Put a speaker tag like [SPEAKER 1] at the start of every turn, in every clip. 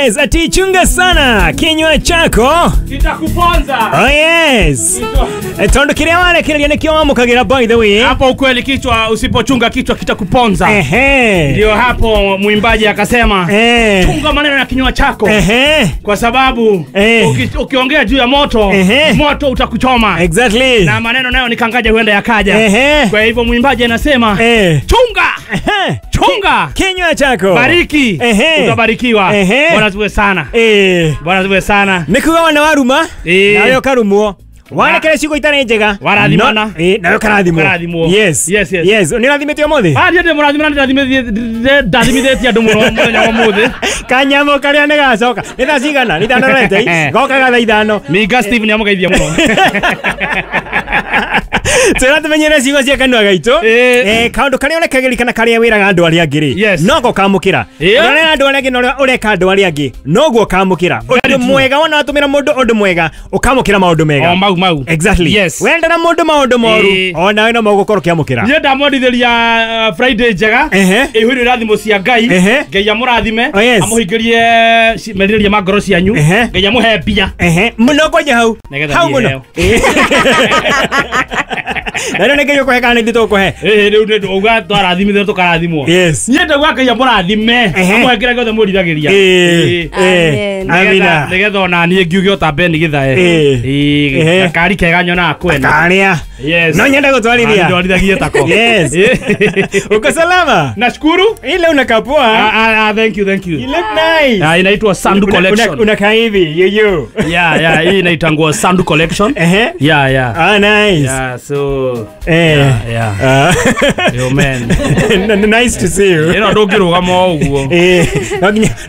[SPEAKER 1] Yes, ati chunga sana kinywa chako
[SPEAKER 2] kitakuponza.
[SPEAKER 1] Oh yes. Tondu kiria warekereria nikio wamukagira, by the way.
[SPEAKER 2] Hapo ukweli, kichwa usipochunga kichwa kitakuponza.
[SPEAKER 1] Ehe.
[SPEAKER 2] Ndio hapo mwimbaji akasema chunga maneno ya kinywa chako.
[SPEAKER 1] Ehe.
[SPEAKER 2] Kwa sababu ukiongea juu ya moto, moto utakuchoma.
[SPEAKER 1] Exactly.
[SPEAKER 2] Na maneno nayo nikangaja huenda yakaja.
[SPEAKER 1] Ehe.
[SPEAKER 2] Kwa hivyo mwimbaji anasema chunga.
[SPEAKER 1] Ehe.
[SPEAKER 2] Chunga
[SPEAKER 1] kinywa chako.
[SPEAKER 2] Bariki.
[SPEAKER 1] Ehe.
[SPEAKER 2] Utabarikiwa. Bwana asifiwe sana. Bwana asifiwe sana.
[SPEAKER 1] Nikuga wana waruma nawe ukarumwo. Warekere ciugo itarĩ njega
[SPEAKER 2] Warathimana.
[SPEAKER 1] Nawe ũkarathimwo. Yes.
[SPEAKER 2] Yes, yes.
[SPEAKER 1] Yes, nĩ ũrathimĩte ũmũthĩ?
[SPEAKER 2] Ah, ndiĩ mũrathimana, ndathimithĩtie andũ mũno mũthenya wa ũmũthĩ.
[SPEAKER 1] Kanyamũ karĩa nĩ gacoka. Nĩ thaa cigana? Nĩ ithano rete. Gokaga thaa ithano.
[SPEAKER 2] Minga Steve nĩ amũgeithia mũno.
[SPEAKER 1] Twĩra tũmenyere ciugo cia kanua gaitũ. Kaũndũ karĩa ũrekagĩria kana karĩa wĩraga andũ arĩa angĩ rĩ, nogo ũkamũkĩra. Ũrĩa andũ arĩa angĩ na ũrĩa ũreka andũ arĩa angĩ, noguo ũkamũkĩra. Ũndũ mwega wona watũmĩra mũndũ ũndũ mwega, ũkamũkĩra maũndũ mega.
[SPEAKER 2] O mau mau.
[SPEAKER 1] Exactly.
[SPEAKER 2] Yes.
[SPEAKER 1] Wendera mũndũ maũndũ moru, onawe no mũgũkorwo ũkĩamũkĩra.
[SPEAKER 2] Niĩ ndamwendithĩria Friday njega, ĩihũire irathimo cia Ngai. Ngai amũrathime, amũhingĩrie merirĩria ma ngoro cianyu. Ngai amũhe mbia.
[SPEAKER 1] Mũno kwanja hau. Hau mũno. Na nĩ Ngai ũkũhe kana nĩ ithuĩ tũkũhe?
[SPEAKER 2] Rĩu nĩ uga twarathimithio tũkarathimwo.
[SPEAKER 1] Yes.
[SPEAKER 2] Niĩ ndauga Ngai amũrathime, amũhe kĩrĩa gĩothe mwĩriragĩria.
[SPEAKER 1] Amina.
[SPEAKER 2] Nĩgetha ona niĩ ngiuge ota Ben Githae. Gakari kega nyonaga kwene.
[SPEAKER 1] Karĩa.
[SPEAKER 2] Yes.
[SPEAKER 1] No nyende gũtwarithia.
[SPEAKER 2] Ndwarithagie tako.
[SPEAKER 1] Yes. Uko salama?
[SPEAKER 2] Nashukuru.
[SPEAKER 1] Ile unakaa poa.
[SPEAKER 2] Thank you, thank you.
[SPEAKER 1] You look nice.
[SPEAKER 2] Inaitwa Sandu Collection.
[SPEAKER 1] Unakaa hivi, yo.
[SPEAKER 2] Yeah, yeah, hii inaitangwa Sandu Collection. Yeah, yeah.
[SPEAKER 1] Ah, nice.
[SPEAKER 2] Yeah, so yeah, yeah. Yo man.
[SPEAKER 1] Nice to see you.
[SPEAKER 2] Ino ndũngĩrũgama o ũguo.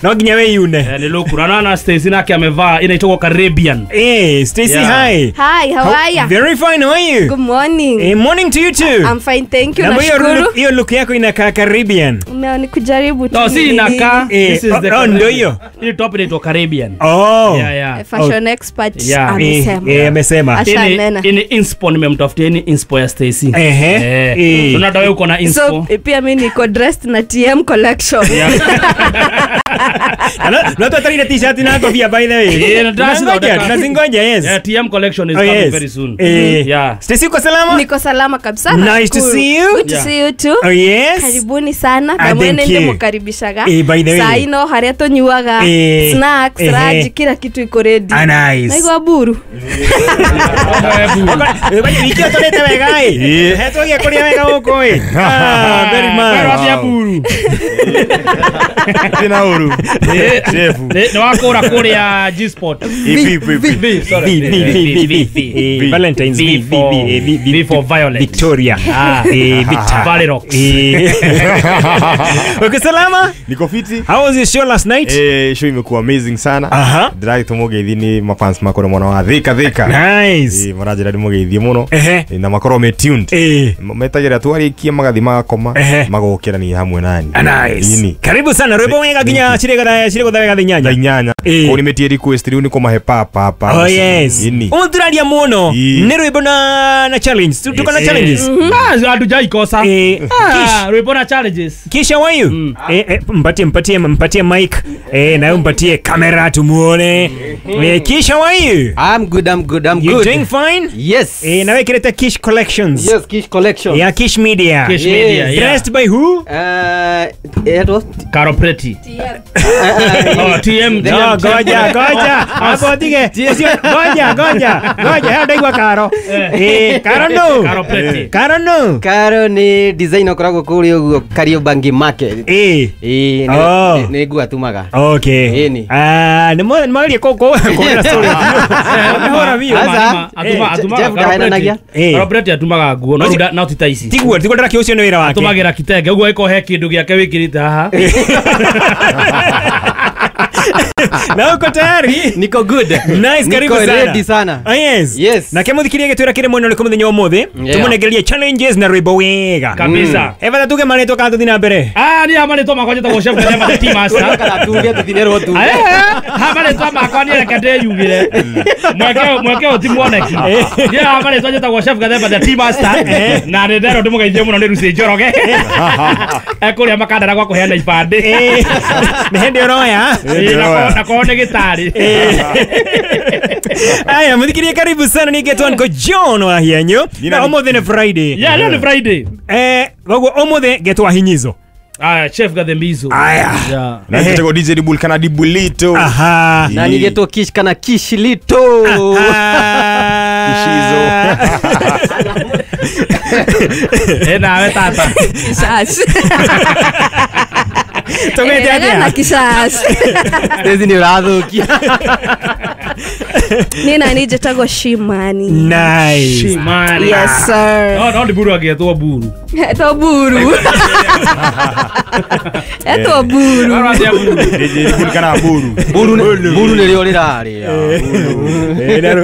[SPEAKER 1] No nginya wĩyune.
[SPEAKER 2] Nĩ lũkura na Stacy nake amevaa inaitwa Caribbean.
[SPEAKER 1] Stacy, hi.
[SPEAKER 3] Hi, how are you?
[SPEAKER 1] Very fine, how are you?
[SPEAKER 3] Good morning.
[SPEAKER 1] Morning to you too.
[SPEAKER 3] I'm fine, thank you. Nashukuru.
[SPEAKER 1] Hiyo look yako inakaa Caribbean.
[SPEAKER 3] No, ni kujaribu tu.
[SPEAKER 2] No, si inakaa. This is the
[SPEAKER 1] ndio hiyo.
[SPEAKER 2] Hii top inaitwa Caribbean.
[SPEAKER 1] Oh.
[SPEAKER 2] Yeah, yeah.
[SPEAKER 3] Fashion expert amesema.
[SPEAKER 1] Amesema.
[SPEAKER 2] Ini inspo nimemtafutia, ni inspo ya Stacy. Unaona wewe uko na inspo.
[SPEAKER 3] So pia mimi niko dressed na TM collection.
[SPEAKER 1] Na tuatarire t-shirt na kofia, by the way. Tunazingoja, yes.
[SPEAKER 2] Yeah, TM collection is coming very soon. Yeah.
[SPEAKER 1] Stacy, uko salama?
[SPEAKER 3] Niko salama kabisa.
[SPEAKER 1] Nice to see you.
[SPEAKER 3] Good to see you too.
[SPEAKER 1] Oh yes.
[SPEAKER 3] Karibuni sana. Na mwene ndio mukaribishaga.
[SPEAKER 1] By the way.
[SPEAKER 3] Saa ino haria tonyuaga snacks, raji, kila kitu iko ready.
[SPEAKER 1] Nice.
[SPEAKER 3] Naigua buru.
[SPEAKER 1] Wiki ũtũrĩte wega ĩ. Hetwagia kũrĩa wega gũkũ ĩ. Very much.
[SPEAKER 2] Buru.
[SPEAKER 4] Tina uru. Chef.
[SPEAKER 2] Nĩ wakũra kũrĩa G-Spot.
[SPEAKER 4] V V
[SPEAKER 2] V sorry.
[SPEAKER 1] V V V V. Valentine's V V V V
[SPEAKER 2] V for Violet.
[SPEAKER 1] Victoria. Victor.
[SPEAKER 2] Valerox.
[SPEAKER 1] Uko salama?
[SPEAKER 4] Niko fiti.
[SPEAKER 1] How was your show last night?
[SPEAKER 4] Show imekuwa amazing sana. Ndĩragĩtwo mũgeithi nĩ mafans makoro mũno wa Thika Thika.
[SPEAKER 1] Nice.
[SPEAKER 4] Maranjĩra ndĩmũgeithie mũno. Na makorwo me tuned. Metagĩrĩra twarĩkie magathi magakoma magokĩra ni hamwe nani.
[SPEAKER 1] Nice. Karibu sana. Rwĩmbo wega nginya cirĩgũtha wega thaa inyanya.
[SPEAKER 4] Thaa inyanya. Kũu nĩmetie request rĩu nĩ kũmahe pa pa pa.
[SPEAKER 1] Oh yes. Ũtũraria mũno. Nĩ rwĩmbo na challenge. Tuko na challenges.
[SPEAKER 2] Hatujaikosa. Rwĩmbo na challenges.
[SPEAKER 1] Kisha how are you? Mpatie mic. Na mpatie kamera tumuone. Kisha how are you?
[SPEAKER 5] I'm good, I'm good, I'm
[SPEAKER 1] You
[SPEAKER 5] good.
[SPEAKER 1] doing fine?
[SPEAKER 5] Yes.
[SPEAKER 1] Na wewe kireta Kish Collections.
[SPEAKER 5] Yes, Kish Collections.
[SPEAKER 1] Yeah, Kish Media.
[SPEAKER 2] Kish Media, yeah.
[SPEAKER 1] Dressed by who?
[SPEAKER 5] It was
[SPEAKER 2] Caro Pretty.
[SPEAKER 3] TM.
[SPEAKER 2] Oh, TM.
[SPEAKER 1] No, goja, goja. Hapo tige. Goja, goja. Goja, hao ndaigua Caro. Caro no.
[SPEAKER 2] Caro Pretty.
[SPEAKER 1] Caro no.
[SPEAKER 5] Caro ni design okoragwo kũrĩa ũguo Kariobangi Market. Nĩ nguo atumaga.
[SPEAKER 1] Okay. Nĩ mageria kũhũra story. Hũra biũ.
[SPEAKER 2] Atuma Caro Pretty atumaga nguo no ti ta ici.
[SPEAKER 1] Tiguo ndĩrakĩ ũcio nĩ wĩra wake.
[SPEAKER 2] Atumagĩra kitenge ũguo ĩko he kĩndũ gĩake wĩkĩrĩte haha.
[SPEAKER 1] Na uko tayari?
[SPEAKER 5] Niko good.
[SPEAKER 1] Nice, karibu
[SPEAKER 5] Niko
[SPEAKER 1] sana.
[SPEAKER 5] Ready sana.
[SPEAKER 1] Oh, yes.
[SPEAKER 5] Yes.
[SPEAKER 1] Na kemuthikirie gitwira kire mwena uriku muthenya umuthi. Tumunegererie challenges na rwimbo wega.
[SPEAKER 2] Kabisa.
[SPEAKER 1] Eva tuge marĩtwa kana tuthi na mbere.
[SPEAKER 2] Ni marĩtwa makwa njĩtagwo Chef Gathemba the Tea Master.
[SPEAKER 5] Kana tuge tuthinerwo tu.
[SPEAKER 2] Ha marĩtwa makwa ni reke ndĩyugire. Mweke ũti muoneki. Ni ha marĩtwa njĩtagwo Chef Gathemba the Tea Master. Na nĩ nderwo ndĩmũgeithie mũno nĩ Lucy Njoroge. Ekũrĩa makandara gwa kũheana ibandĩ.
[SPEAKER 1] Nĩ hĩndĩ ũroya.
[SPEAKER 2] Ona kwa nĩ gĩtarĩ.
[SPEAKER 1] Aya muthikirie karibu sana ni getwa nko John wa hianyu. Na umuthi ni Friday.
[SPEAKER 2] Yeah, leo ni Friday.
[SPEAKER 1] Koguo umuthi getwa hinyizo.
[SPEAKER 2] Aya Chef Gathembizo.
[SPEAKER 1] Aya.
[SPEAKER 2] Yeah.
[SPEAKER 4] Na ngetagwo DJ Dibul kana Dibulito.
[SPEAKER 1] Aha.
[SPEAKER 5] Na nigetwo Kish kana Kishilito.
[SPEAKER 4] Kishizo.
[SPEAKER 2] Nawe tata.
[SPEAKER 3] Kishash.
[SPEAKER 1] Tugete atia?
[SPEAKER 3] Na kishash.
[SPEAKER 5] Tezi ni urathukia.
[SPEAKER 3] Nina ni jetagwo Shimani.
[SPEAKER 1] Nice.
[SPEAKER 2] Shimani.
[SPEAKER 3] Yes sir.
[SPEAKER 2] No Diburu agetwo Buru.
[SPEAKER 3] Etwo Buru. Etwo Buru.
[SPEAKER 4] DJ Dibul kana Buru.
[SPEAKER 5] Buru Buru nĩrĩo rĩrarĩa.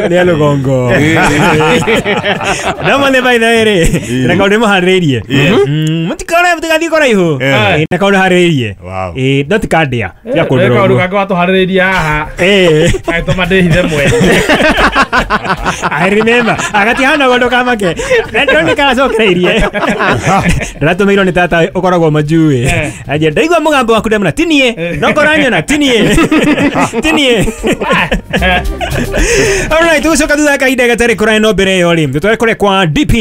[SPEAKER 1] Nĩ rũgongo. No mone by the way. Na kaũndũ mũharĩrĩirie. Mũtikore mũtigathiĩ kũraihu. Na kaũndũ harĩrĩirie. No tikandĩa. Tiga kũndũrwo.
[SPEAKER 2] Kaũndũ gakwa watũharĩrĩirie haha. Agĩtũma ndĩhithe mwene.
[SPEAKER 1] I remember. Agatihana gondo kamake. Ndoni karacokereirie. Ndĩratũmĩirwo nĩ tata ũkoragwo majui. Anjia ndaigua mũgambo waku ndamũna tinie. No koranyona tinie. Tinie. All right, tucoka thutha kahinda gatarĩ kũraya no mbere ĩyo rĩ. Tũtware kũrĩa kwa DP.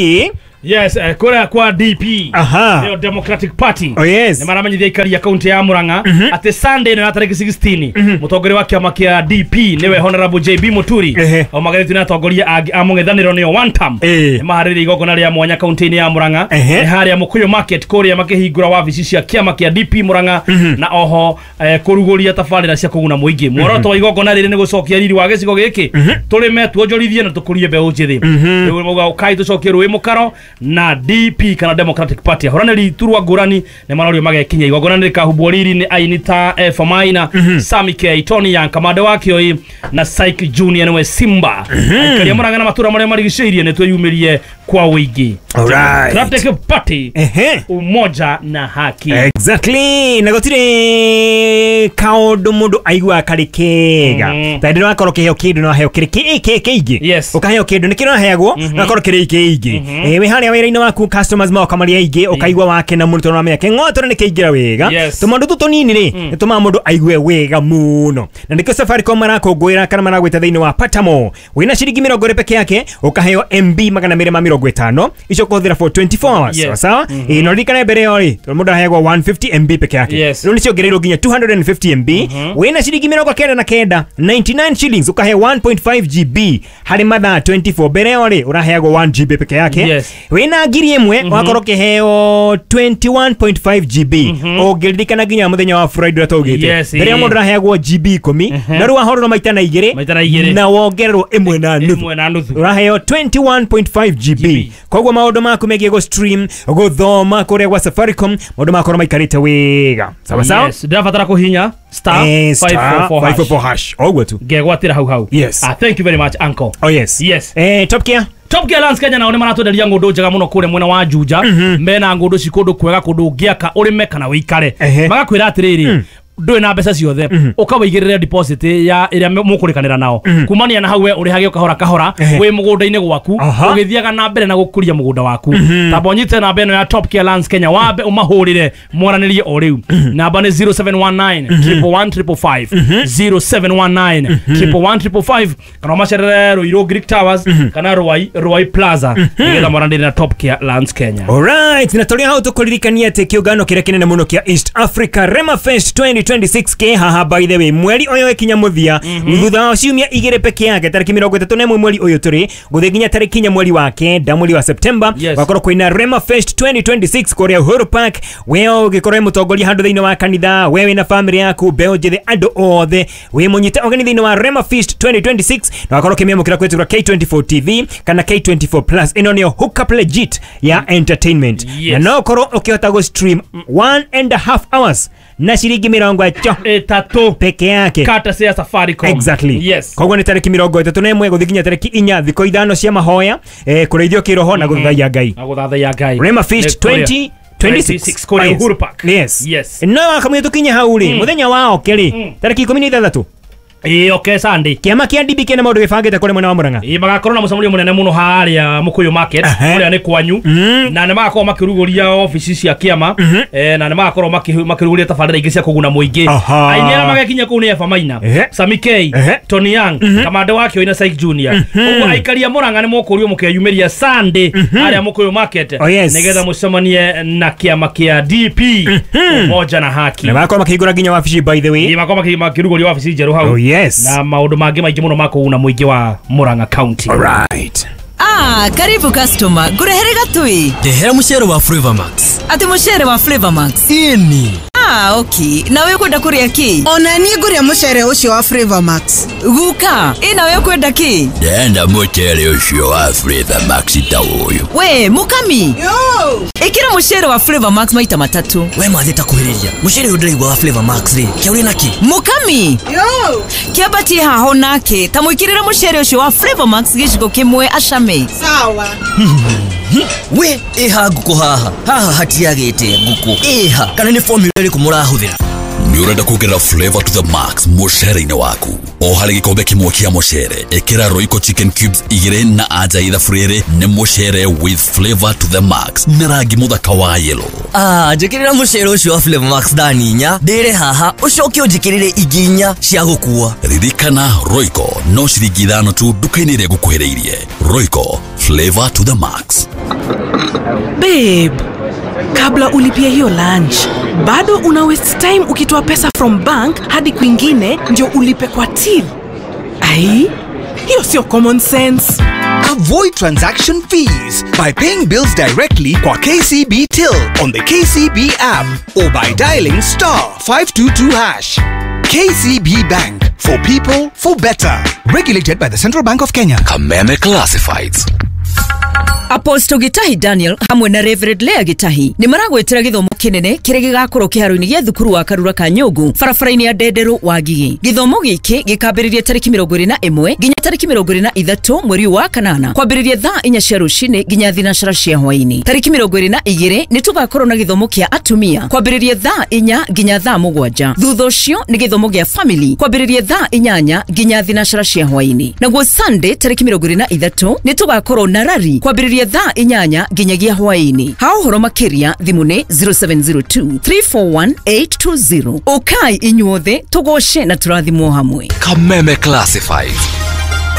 [SPEAKER 2] Yes, kũrĩa kwa DP.
[SPEAKER 1] Aha.
[SPEAKER 2] Nĩyo Democratic Party.
[SPEAKER 1] Oh yes.
[SPEAKER 2] Nĩ maramenyithia aikari a kaunti ya Murang'a atĩ Sunday ĩno ya tarĩki 16 mũtongoria wa kĩama kĩa DP nĩwe Honorable JB Muturi aumagarĩtio nĩ atongoria angĩ a mũng'ethanĩro nĩo one term. Nĩ maharĩrĩirie igongona rĩa mwanya kaunti-inĩ ya Murang'a. Nĩ harĩa Mũkũyũ Market kũrĩa makĩhingũra wabici cia kĩama kĩa DP Murang'a na oho kũrugũria tabarĩra cia kũguna mũingĩ. Muoroto wa igongona rĩrĩ nĩ gũcokia riri wa gĩcigo gĩkĩ tũrĩme tuonjorithie na tũkũrie mbeũ njĩthĩ. Rĩu mauga ũkai tũcokie rũĩ mũkaro na DP kana Democratic Party. Ahũranĩri iturwa ngũrani nĩ marorio magekinya igongona nĩ rĩkahumbwo riri nĩ aini ta Famaina, Sami K, Tony Young, Kamande wa Kĩoi na Syke Junior nĩwe Simba. Aikari a Murang'a na matũra marĩa marigicĩirie nĩ twĩyumĩrie kwa ũingĩ.
[SPEAKER 1] Alright.
[SPEAKER 2] Democratic Party, umoja na haki.
[SPEAKER 1] Exactly. Na gũtirĩ kaũndũ mũndũ aiguaga karĩ kega. Ta hĩndĩ ĩrĩa wakorwo ũkĩheo kĩndũ na waheo kĩrĩ kĩingĩ.
[SPEAKER 2] Yes.
[SPEAKER 1] Ũkaheo kĩndũ nĩ kĩrĩa ũraheagwo na wakorwo kĩrĩ kĩingĩ. Wĩ harĩa wĩra-inĩ waku customers moka marĩ aingĩ ũkaigua wakena mũno tondũ wamenya kĩng'otore nĩ kĩingĩra wega. Tũmaũndũ tũtũ tũnini rĩ nĩ tũmaga mũndũ aigue wega mũno. Na nĩkĩo Safaricom marakũngũĩra kana maragwĩta thĩinĩ wa Patamo. Wĩna ciringi 20 peke yake ũkaheo MB 250 icio ũkũhũthĩra for 24 hours.
[SPEAKER 2] Yes.
[SPEAKER 1] Sawa? No ririkane mbere ĩyo rĩ tondũ mũndũ aheagwo 150 MB peke yake.
[SPEAKER 2] Yes.
[SPEAKER 1] Rĩu nĩ ciongereirwo nginya 250 MB. Wĩna ciringi 99 99 shillings ũkaheo 1.5 GB harĩ mathaa 24. Mbere ĩyo rĩ ũraheagwo 1 GB peke yake.
[SPEAKER 2] Yes.
[SPEAKER 1] Wĩna 1000 wakorwo ũkĩheo 21.5 GB. Ũngĩririkana nginya mũthenya wa Friday ũrĩa twaugĩte.
[SPEAKER 2] Yes,
[SPEAKER 1] Mbere ĩyo mũndũ araheagwo GB 10 na rĩu wahorwo maita na igĩrĩ na wongererwo 1.5 ũraheo 21.5 GB. Koguo maũndũ maku megiĩ gũ stream gũthoma kũrĩa gwa Safaricom maũndũ makorwo maikarĩte wega. Sawa sawa?
[SPEAKER 2] Yes, ndĩrabatara kũhinya star 544 hash.
[SPEAKER 1] Oguo tu.
[SPEAKER 2] Ngegwatĩra hau hau.
[SPEAKER 1] Yes.
[SPEAKER 2] Thank you very much uncle.
[SPEAKER 1] Oh yes.
[SPEAKER 2] Yes.
[SPEAKER 1] Top Gear.
[SPEAKER 2] Top Gear Lands Kenya nao nĩ maratwenderia ng'ũndũ njega mũno kũrĩa mwena wa Juja. Mena ng'ũndũ ci kũndũ kwega kũndũ ũngĩaka ũrĩme kana wĩikare. Magakwĩra atĩrĩrĩ ndũrĩ na mbeca ciothe ũkawaigĩrĩra deposit ya ĩrĩa mũkũrĩkanĩra nao kumania na hau we ũrĩhage kahora kahora wĩ mũgũnda-inĩ gwaku ũgĩthiaga na mbere na gũkũria mũgũnda waku. Tamba ũnyite namba ĩno ya Top Gear Lands Kenya wambe ũmahũrĩre mwaranĩrie o rĩu. Namba nĩ 0719 111 555 0719 111 555 kana ũmacerere Ruiru Greek Towers kana Ruai Plaza nĩgetha mwaranĩrie na Top Gear Lands Kenya.
[SPEAKER 1] Alright, na tũrĩ hau tũkũririkania atĩ kĩũngano kĩrĩa kĩnene mũno kĩa East Africa Rema Fest 2026 ke haha by the way mweri ũyũ ĩkinya mũthia thutha wa ciumia igĩrĩ peke yake tarĩki 31 mweri ũyũ tũrĩ gũthiĩ nginya tarĩki 4 mweri wa kenda mweri wa September wakorwo kwĩna Rema Fest 2026 kũrĩa Uhuru Park. We ũgĩkorwo wĩ mũtongoria handũ thĩinĩ wa kanitha, we wĩna family yaku, mbeũ njĩthĩ, andũ othe wĩ mũnyite ũgeni thĩinĩ wa Rema Fest 2026 na wakorwo ũkĩmĩamũkĩra kũhĩtũkĩra K24 TV kana K24 Plus. Ĩno nĩyo hookup legit ya entertainment. Na no ũkorwo ũkĩhota gũ stream 1.5 hours na ciringi 33 peke yake
[SPEAKER 2] courtesy ya Safaricom.
[SPEAKER 1] Exactly.
[SPEAKER 2] Yes.
[SPEAKER 1] Koguo nĩ tarĩki 31 gũthiĩ nginya tarĩki 4 thikũ 5 cia mahoya kũrĩithio kĩroho na gũthathaiya Ngai.
[SPEAKER 2] Na gũthathaiya Ngai.
[SPEAKER 1] Rema Fest 2026
[SPEAKER 2] kũrĩa Uhuru Park.
[SPEAKER 1] Yes.
[SPEAKER 2] Yes.
[SPEAKER 1] No wakamwe tũkinye hau rĩ mũthenya wa oke rĩ tarĩki 16
[SPEAKER 2] Ĩĩ okay Sunday.
[SPEAKER 1] Kĩama kĩa DP kĩna maũndũ gĩbangĩte kũrĩ mwena wa Murang'a.
[SPEAKER 2] Ĩĩ magakorwo na mũcemanio mũnene mũno harĩa Mũkũyũ Market kũrĩa nĩ kwanyu na nĩ magakorwo makĩrugũria ofici cia kĩama na nĩ magakorwo makĩrugũria tabarĩra ingĩ cia kũguna mũingĩ. Aini arĩa magekinya kũu nĩ Eva Maina, Sami K, Tony Young, Kamande wa Kĩoi na Syke Junior. Ũguo aikari a Murang'a nĩ mũkũrio mũkeyumĩria Sunday harĩa Mũkũyũ Market nĩgetha mũcemanie na kĩama kĩa DP Umoja na Haki.
[SPEAKER 1] Na magakorwo makĩhingũra nginya wabici by the way.
[SPEAKER 2] Ĩĩ magakorwo makĩrugũria wabici njerũ hau.
[SPEAKER 1] Oh yes.
[SPEAKER 2] Na maũndũ mangĩ maingĩ mũno ma kũguna mũingĩ wa Murang'a County.
[SPEAKER 1] All right.
[SPEAKER 6] Ah, karibu customer. Ngurehere gatui.
[SPEAKER 7] Ndehera mucere wa Flavor Max.
[SPEAKER 6] Ati mucere wa Flavor Max?
[SPEAKER 7] Ini.
[SPEAKER 6] Ah, okay. Nawe ukwenda kuria ki?
[SPEAKER 8] Ona niĩ ngũrĩa mucere ũcio wa Flavor Max.
[SPEAKER 6] Guka, ĩ nawe ukwenda ki?
[SPEAKER 9] Ndenda mucere ũcio wa Flavor Max ta ũyũ.
[SPEAKER 6] We, mukami.
[SPEAKER 8] Yo.
[SPEAKER 6] Ikira mucere wa Flavor Max maita matatu.
[SPEAKER 7] We mathi ta kuhĩrĩria. Mucere ũyũ ndĩraigua wa Flavor Max rĩ, kĩa ũrĩ naki?
[SPEAKER 6] Mukami.
[SPEAKER 8] Yo.
[SPEAKER 6] Kĩambatie haho nake, ta mwĩkĩrĩre mucere ũcio wa Flavor Max gĩciko kĩmwe acame.
[SPEAKER 8] Sawa.
[SPEAKER 7] We, ĩha ngũkũ haha. Haha hatiagĩte ngũkũ. Ĩha, kana nĩ formula ĩrĩkũ mũrahũthĩra?
[SPEAKER 9] Nĩ ũrenda kuongerera flavor to the max mũcere-inĩ waku. O harĩ gĩkombe kĩmwe kĩa mũcere, ĩkĩra Royco chicken cubes 2 na anja ithabu 2 nĩ mũcere with flavor to the max na rangi mũthaka wa yellow.
[SPEAKER 7] Ah, njĩkĩrĩra mũcere ũcio wa Flavor Max thani 4, ndĩre haha, ũcoke ũnjĩkĩrĩre ingĩ 4 cia gũkua.
[SPEAKER 9] Ririkana Royco no ciringi 5 tu nduka-inĩ ĩrĩa ĩgũkuhĩrĩirie. Royco, flavor to the max.
[SPEAKER 10] Babe, kabla ulipie hiyo lunch, bado una waste time ukitoa pesa from bank hadi kwingine ndio ulipe kwa till. Ai, hiyo sio common sense.
[SPEAKER 11] Avoid transaction fees by paying bills directly kwa KCB Till on the KCB app or by dialing *522#. KCB Bank, for people, for better. Regulated by the Central Bank of Kenya.
[SPEAKER 9] Kameme Classifieds.
[SPEAKER 6] Apostle Gitahi Daniel hamwe na Reverend Lea Gitahi nĩ maragwĩtĩra gĩthomo kĩnene kĩrĩa gĩgakorwo kĩharo-inĩ gĩa thukuru wa Karura ka Nyũngũ barabara-inĩ ya Ndenderũ wa Ngigĩ. Gĩthomo gĩkĩ gĩkambĩrĩria tarĩki 21 nginya tarĩki 23 mweri wa kanana kwambĩrĩria thaa 4 cia rũcinĩ nginya 3 cia hwaĩ-inĩ. Tarĩki 22 nĩ tũgakorwo na gĩthomo kĩa atumia kwambĩrĩria thaa 4 nginya thaa 7. Thutha ũcio nĩ gĩthomo gĩa family kwambĩrĩria thaa 8 nginya 3 cia hwaĩ-inĩ. Naguo Sunday tarĩki 23 nĩ tũgakorwo na rari kwambĩrĩria thaa 8 nginyagia hwaĩ-inĩ. Ha ũhoro makĩria thimũ nĩ 0702 341 820. Ũkai inyuothe tũgoce na tũrathimwo hamwe.
[SPEAKER 9] Kameme Classifieds.